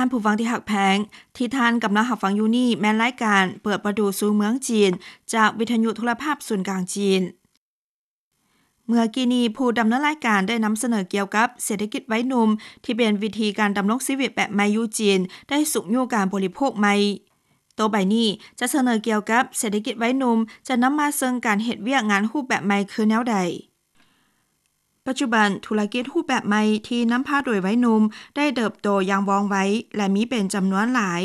ທ່ານຜູ້ຟັງທີ່ຮັກແພງ, ທີ່ທ່ານກຳລັງຮັບຟັງຢູ່ນີ້ແມ່ນລາຍການເປີດປະຕູສູ່ເມືອງຈີນ ຈາກວິທະຍຸໂທລະພາບສູນກາງຈີນ. ເມື່ອກີ້ນີ້ ຜູ້ດຳເນີນລາຍການໄດ້ນຳສະເໜີກ່ຽວກັບເສດຖະກິດໄວໜຸ່ມ ທີ່ເປັນວິທີການດຳລົງຊີວິດແບບໃໝ່ຢູ່ຈີນ ໄດ້ຊຸກຍູ້ການບໍລິໂພກໃໝ່. ຕໍ່ໄປນີ້ຈະສະເໜີກ່ຽວກັບເສດຖະກິດໄວໜຸ່ມ ຈະນຳມາເຊິ່ງການເຮັດວຽກງານຮູບແບບໃໝ່ຄືແນວໃດ. ປັດຈຸບັນ, ທຸລະກິດຮູບແບບໃໝ່ທີ່ນຳພາໂດຍໄວໜຸ່ມໄດ້ເຕີບໂຕຢ່າງວ່ອງໄວ ແລະ ມີເປັນຈຳນວນຫຼາຍ.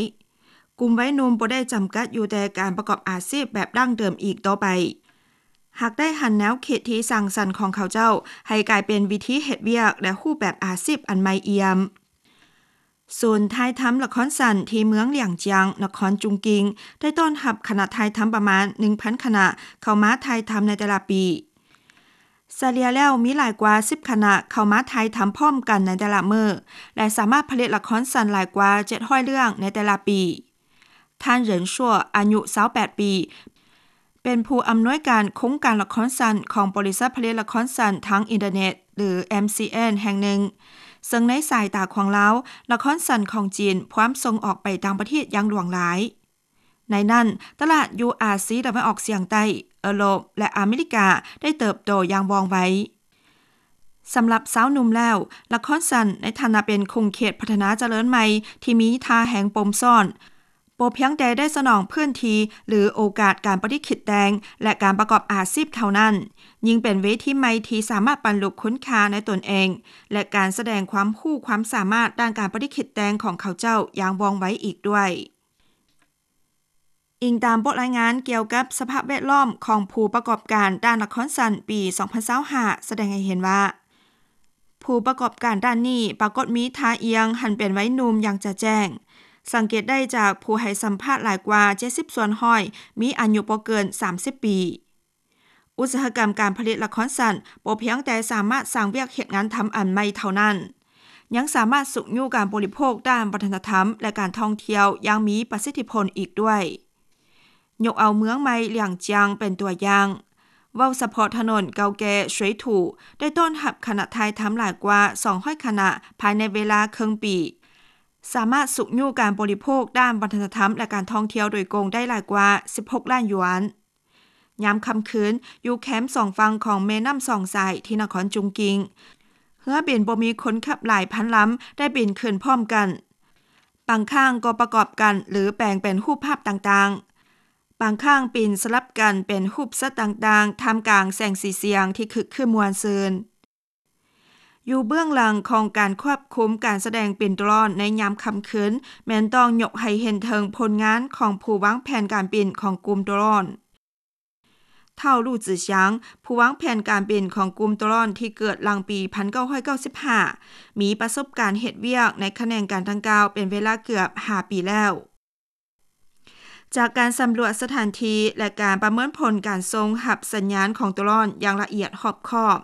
ກຸ່ມໄວໜຸ່ມບໍ່ໄດ້ຈຳກັດຢູ່ແຕ່ການປະກອບອາຊີບແບບດັ້ງເດີມອີກຕໍ່ໄປ, ຫາກໄດ້ຫັນແນວຄິດທີ່ສ້າງສັນຂອງເຂົາເຈົ້າໃຫ້ກາຍເປັນວິທີເຮັດວຽກ ແລະ ຮູບແບບອາຊີບອັນໃໝ່ອ່ຽມ. ສູນຖ່າຍທຳລະຄອນສັ້ນທີ່ເມືອງຫຼຽງຈຽງ, ນະຄອນຈຸງກິງ ໄດ້ຕ້ອນຮັບຄະນະຖ່າຍທຳປະມານໜຶ່ງພັນຄະນະເຂົ້າມາຖ່າຍທຳໃນແຕ່ລະປີ. ສະເລ່ຍແລ້ວມີຫຼາຍກວ່າສິບຄະນະເຂົ້າມາຖ່າຍທຳພ້ອມກັນໃນແຕ່ລະມື້ ແລະ ສາມາດຜະລິດລະຄອນສັ້ນຫຼາຍກວ່າເຈັດຮ້ອຍເລື່ອງໃນແຕ່ລະປີ. ທ່ານ ເຫຣິນຊົ່ວ ອາຍຸຊາວແປດປີ ເປັນຜູ້ອຳນວຍການໂຄງການລະຄອນສັ້ນຂອງບໍລິສັດຜະລິດລະຄອນສັ້ນທາງອິນເຕີເນັດ ຫຼື MCN ແຫ່ງໜຶ່ງ, ເຊິ່ງໃນສາຍຕາຂອງລາວ, ລະຄອນສັ້ນຂອງຈີນພວມສົ່ງອອກໄປຕ່າງປະເທດຢ່າງຫຼວງຫຼາຍ. ໃນນັ້ນ, ຕະຫຼາດຢູ່ອາຊີຕາເວັນອອກສຽງໃຕ້, ເອີຣົບ ແລະ ອາເມລິກາໄດ້ເຕີບໂຕຢ່າງວ່ອງໄວ. ສຳລັບຊາວໜຸ່ມແລ້ວ, ລະຄອນສັ້ນໃນຖານະເປັນຂົງເຂດພັດທະນາຈະເລີນໃໝ່ທີ່ມີທ່າແຮງປົມຊ້ອນ, ບໍ່ພຽງແຕ່ໄດ້ສະໜອງພື້ນທີ່ ຫຼື ໂອກາດການປະດິດຄິດແຕ່ງ ແລະ ການປະກອບອາຊີບເທົ່ານັ້ນ, ຍິ່ງເປັນເວທີໃໝ່ທີ່ສາມາດບັນລຸຄຸນຄ່າໃນຕົນເອງ ແລະ ການສະແດງຄວາມຮູ້ຄວາມສາມາດດ້ານການປະດິດຄິດແຕ່ງຂອງເຂົາເຈົ້າຢ່າງວ່ອງໄວອີກດ້ວຍ. ອີງຕາມບົດລາຍງານກ່ຽວກັບສະພາບແວດລ້ອມຂອງຜູ້ປະກອບການດ້ານລະຄອນສັ້ນປີສອງພັນຊາວຫ້າ ສະແດງໃຫ້ເຫັນວ່າ ຜູ້ປະກອບການດ້ານນີ້ປາກົດມີທ່າອ່ຽງຫັນເປັນໄວໜຸ່ມຢ່າງຈະແຈ້ງ. ສັງເກດໄດ້ຈາກຜູ້ໃຫ້ສຳພາດຫຼາຍກວ່າເຈັດສິບສ່ວນຮ້ອຍມີອາຍຸບໍ່ເກີນສາມສິບປີ. ອຸດສາຫະກຳການຜະລິດລະຄອນສັ້ນບໍ່ພຽງແຕ່ສາມາດສ້າງວຽກເຮັດງານທຳອັນໃໝ່ເທົ່ານັ້ນ, ຍັງສາມາດຊຸກຍູ້ການບໍລິໂພກດ້ານວັດທະນະທຳ ແລະ ການທ່ອງທ່ຽວຢ່າງມີປະສິດທິຜົນອີກດ້ວຍ. ຍົກເອົາເມືອງໃໝ່ຫຼຽງຈຽງເປັນຕົວຢ່າງ. ເວົ້າສະເພາະຖະໜົນເກົ່າແກ່ສວຍຖູ ໄດ້ຕ້ອນຮັບຄະນະຖ່າຍທຳຫຼາຍກວ່າສອງຮ້ອຍຄະນະພາຍໃນເວລາເຄິ່ງປີ, ສາມາດຊຸກຍູ້ການບໍລິໂພກດ້ານວັດທະນະທຳ ແລະ ການທ່ອງທ່ຽວໂດຍກົງໄດ້ຫຼາຍກວ່າສິບຫົກລ້ານຢວນ. ຍາມຄ່ຳຄືນ, ຢູ່ແຄມສອງຝັ່ງຂອງແມ່ນ້ຳສອງສາຍທີ່ນະຄອນຈຸງກິງ, ເຮືອບິນບໍ່ມີຄົນຂັບຫຼາຍພັນລຳໄດ້ບິນຂຶ້ນພ້ອມກັນ. ບາງຄັ້ງກໍປະກອບກັນ ຫຼື ແປງເປັນຮູບພາບຕ່າງໆ. ບາງຄັ້ງປິ່ນສະຫຼັບກັນເປັນຮູບສັດຕ່າງໆ, ທ່າມກາງແສງສີສຽງທີ່ຄຶກຄື້ນມ່ວນຊື່ນ. ຢູ່ເບື້ອງຫຼັງຂອງການຄວບຄຸມການສະແດງປິ່ນໂດຣນໃນຍາມຄ່ຳຄືນ ແມ່ນຕ້ອງຍົກໃຫ້ເຫັນເຖິງຜົນງານຂອງຜູ້ວາງແຜນການບິນຂອງກຸ່ມໂດຣນ. ທ້າວ ຫຼູ່ຈື້ຊຽງ ຜູ້ວາງແຜນການບິນຂອງກຸ່ມໂດຣນທີ່ເກີດຫຼັງປີພັນເກົ້າຮ້ອຍເກົ້າສິບຫ້າ ມີປະສົບການເຮັດວຽກໃນຂະແໜງການດັ່ງກ່າວເປັນເວລາເກືອບຫ້າປີແລ້ວ. ຈາກການສຳຫຼວດສະຖານທີ່ ແລະ ການປະເມີນຜົນການສົ່ງຮັບສັນຍານຂອງໂດຣນຢ່າງລະອຽດຮອບຄອບ,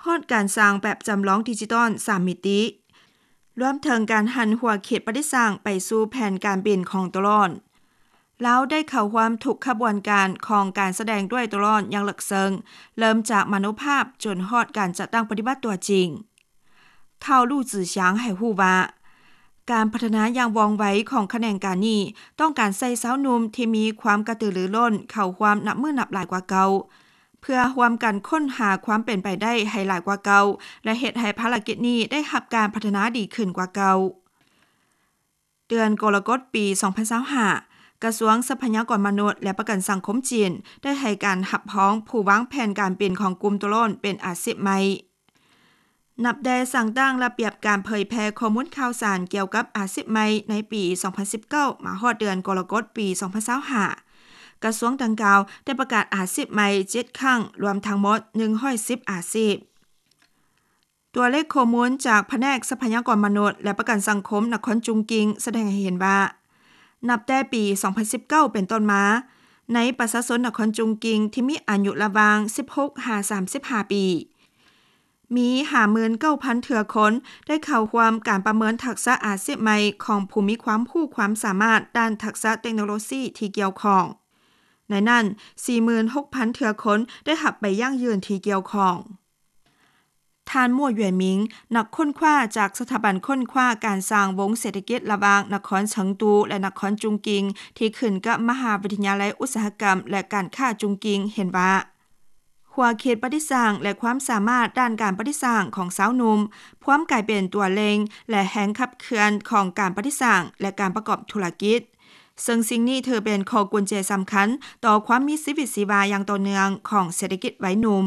ຮອດການສ້າງແບບຈຳລອງດິຈິຕອນສາມມິຕິ, ລວມເຖິງການຫັນຫົວເຂດປະດິດສ້າງໄປສູ່ແຜນການບິນຂອງໂດຣນ. ລາວໄດ້ເຂົ້າຮ່ວມທຸກຂະບວນການຂອງການສະແດງດ້ວຍໂດຣນຢ່າງເລິກເຊິ່ງ, ເລີ່ມຈາກມະໂນພາບຈົນຮອດການຈັດຕັ້ງປະຕິບັດຕົວຈິງ. ທ້າວ ຫຼູ່ຈື້ຊຽງ ໃຫ້ຮູ້ວ່າ ການພັດທະນາຢ່າງວ່ອງໄວຂອງຂະແໜງການນີ້ ຕ້ອງການໃຊ້ຊາວໜຸ່ມທີ່ມີຄວາມກະຕືລືລົ້ນເຂົ້າຮ່ວມນັບມື້ນັບຫຼາຍກວ່າເກົ່າ, ເພື່ອຮ່ວມກັນຄົ້ນຫາຄວາມເປັນໄປໄດ້ໃຫ້ຫຼາຍກວ່າເກົ່າ ແລະ ເຮັດໃຫ້ພາລະກິດນີ້ໄດ້ຮັບການພັດທະນາດີຂຶ້ນກວ່າເກົ່າ. ເດືອນກໍລະກົດປີສອງພັນຊາວຫ້າ ກະຊວງຊັບພະຍາກອນມະນຸດ ແລະ ປະກັນສັງຄົມຈີນ ໄດ້ໃຫ້ການຮັບຮອງຜູ້ວາງແຜນການບິນຂອງກຸ່ມໂດຣນເປັນອາຊີບໃໝ່. ນັບແຕ່ສ້າງຕັ້ງລະບຽບການເຜີຍແຜ່ຂໍ້ມູນຂ່າວສານກ່ຽວກັບອາຊີບໃໝ່ໃນປີສອງພັນສິບເກົ້າ ມາຮອດເດືອນກໍລະກົດປີສອງພັນຊາວຫ້າ ກະຊວງດັ່ງກ່າວໄດ້ປະກາດອາຊີບໃໝ່ເຈັດຄັ້ງ, ລວມທັງໝົດໜຶ່ງຮ້ອຍສິບອາຊີບ. ຕົວເລກຂໍ້ມູນຈາກພະແນກຊັບພະຍາກອນມະນຸດ ແລະ ປະກັນສັງຄົມນະຄອນຈຸງກິງ ສະແດງໃຫ້ເຫັນວ່າ ນັບແຕ່ປີສອງພັນສິບເກົ້າເປັນຕົ້ນມາ, ໃນປະຊາຊົນນະຄອນຈຸງກິງທີ່ມີອາຍຸລະຫວ່າງສິບຫົກຫາສາມສິບຫ້າປີ, ມີຫ້າໝື່ນເກົ້າພັນເທື່ອຄົນໄດ້ເຂົ້າຮ່ວມການປະເມີນທັກສະອາຊີບໃໝ່ຂອງຜູ້ມີຄວາມຮູ້ຄວາມສາມາດດ້ານທັກສະເຕັກໂນໂລຊີທີ່ກ່ຽວຂ້ອງ. ໃນນັ້ນ, ສີ່ໝື່ນຫົກພັນເທື່ອຄົນໄດ້ຮັບໃບຢັ້ງຢືນທີ່ກ່ຽວຂ້ອງ. ທ່ານ ມົວ ຢວຍມິງ ນັກຄົ້ນຄວ້າຈາກສະຖາບັນຄົ້ນຄວ້າການສ້າງວົງເສດຖະກິດລະຫວ່າງນະຄອນເຊີງຕູ ແລະ ນະຄອນຈຸງກິງ ທີ່ຂຶ້ນກັບມະຫາວິທະຍາໄລອຸດສາຫະກຳ ແລະ ການຄ້າຈຸງກິງ ເຫັນວ່າ ຂົວເຂດປະຕິສ້າງ ແລະ ຄວາມສາມາດດ້ານການປະຕິສ້າງຂອງຊາວໜຸ່ມ ພວມກາຍເປັນຕົວເລັ່ງ ແລະ ແຮງຂັບເຄື່ອນຂອງການປະຕິສ້າງ ແລະ ການປະກອບທຸລະກິດ, ເຊິ່ງສິ່ງນີ້ຖືເປັນຂໍ້ກຸນແຈສຳຄັນຕໍ່ຄວາມມີຊີວິດຊີວາຢ່າງຕໍ່ເນື່ອງຂອງເສດຖະກິດໄວໜຸ່ມ.